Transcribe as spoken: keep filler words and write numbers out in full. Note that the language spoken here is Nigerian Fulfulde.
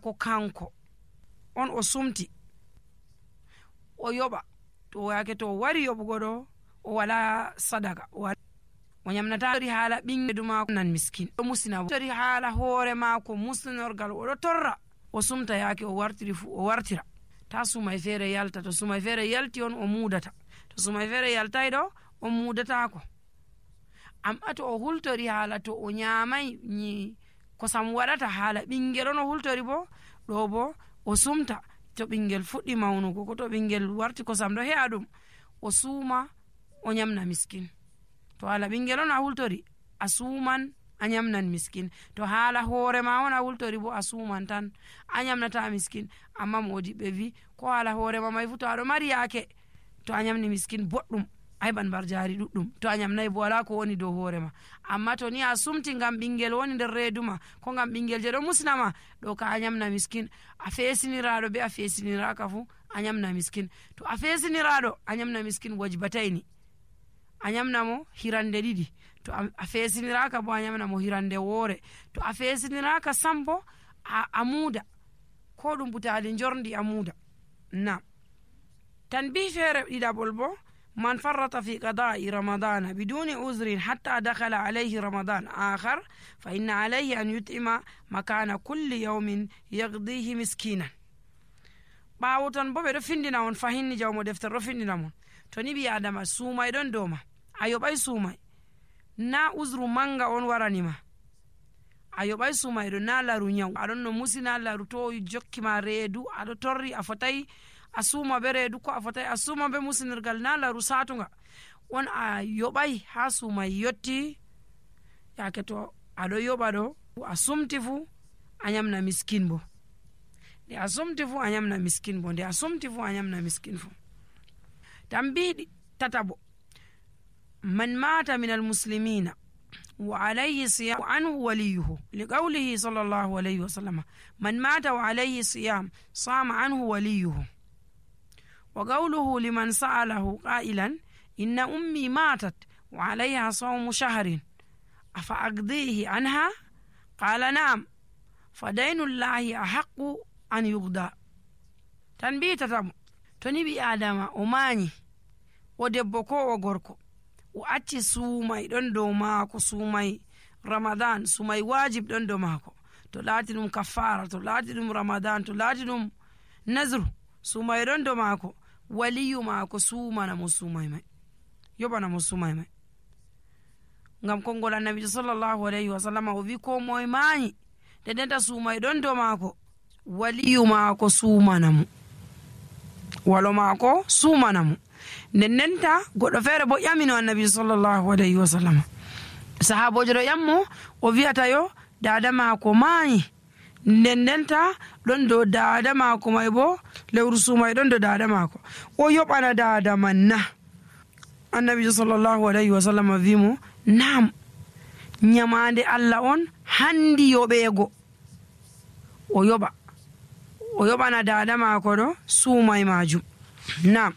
ko kanko on o sumti o yoɓa, to yake to wari yoɓugo ɗo o wala sadaka, o nyamnata tori haala ɓingedu mako nan miskin, o musina tori haala hoore mako muslinorgal, o ɗo torra o sumta yake o wartiri fu o wartira, ta sumay feere yalta. To sumay feere yalti on o mudata, to sumay feere yaltai ɗo o mudatako. Amma to o hultori haala to o nyamai ni kosam waɗata haala ɓingel on o hultori bo, ɗo bo o sumta. To ɓingel fuɗɗi maunugo ko to ɓingel warti kosam ɗo he'a ɗum, o suma o nyamna miskin. To haala ɓingel on a hultori a suman a nyamnan miskin, to haala hoore ma on a hultori bo a suman tan a nyamnata miskin. Amma modiɓɓe vi ko haala hoore ma mai fu to aɗo mari yaake to a nyamni miskin boɗɗum a heɓan bar jari ɗuɗɗum, to a nyamnai bo wala ko woni dow hoore ma. Amma to ni a sumti ngam ɓingel woni nder reedu ma, ko ngam ɓingel je ɗo musnama, ɗo ka a nyamna miskin. A fesiniraɗo be a fesiniraka fu a nyamna miskin. To a fesiniraɗo a nyamna miskin wajbatayni, a nyamna mo hirande ɗiɗi. To a fesiniraka bo a nyamna mo hirande woore. To a fesiniraka sam bo a, a muda ko ɗum butali jorndi a muda. Na tan bi feere ɗiɗaɓol bo, man farrata fi qada'i ramadana biduni uzrin hatta dakhala alayhi ramadan akhar fa inna alayhi an yut'ima makana kulli yawmin yaqdihi miskinan. ɓawo ton bo ɓe ɗo findina on fahinni jawmo deftere ɗo findina mon, to ni ɓi adama sumay ɗon dow ma, a yoɓay sumay, na uzru manga on waranima, a yoɓay sumay ɗo, na laru nyaw, aɗon no musina laru to jokkima reedu aɗo torri a fotayi a suma be reedu, ko a fotayi a suma be musinirgal, na laru satunga on a yoɓay ha sumay yotti. Yake to aɗo yoɓa ɗo a sumti fu a nyamna miskin bo, nde a sumti fu a nyamna miskin bo, nde a sumti fu a nyamna miskin fu. Tambiɗi tatabo, man mata min almuslimina wa alayhi siyam anhu waliyuhu liqawlihi sallallahu alayhi wa sallam, man mata wa alayhi siyam sama anhu waliyuhu. wa qawluhu liman sa'alahu qailan inna ummi matat wa alayha sawmu shahrin afa aqdihi anha qala na'am fa daynullahi ahaqqu an yuqda. Tan bi tatamo, to ni ɓi adama o mañi, o debbo ko o gorko, o acci sumay ɗon dow maako, sumay ramadan, sumay wajib ɗon dow maako, to laati ɗum kaffara, to laati ɗum ramadan, to laati ɗum nazru, sumay ɗon dow maako, waliyu maako sumana mo sumay may, yoɓana mo sumay may. Ngam konngol annabijo sallallahu alayhi wa sallam o wi ko moye mañi nde denta sumay ɗon dow maako, waliyu maako sumana mo, walo maako sumana mo. nden ndenta goɗɗo feere bo ƴamino annabi sallallahu alayhi wa sallam, sahabojo ɗo ƴammo o wiyata yo dada maako maayi, nden ndenta ɗon dow dada maako may bo lewru sumay ɗon dow dada maako, o yoɓana dada man na? Annabijo sallallahu alayhi wa sallam wimo nam, nyamande Allah on handi yoɓeego, o yoɓa o yoɓana dada maako ɗo sumay majum. Nam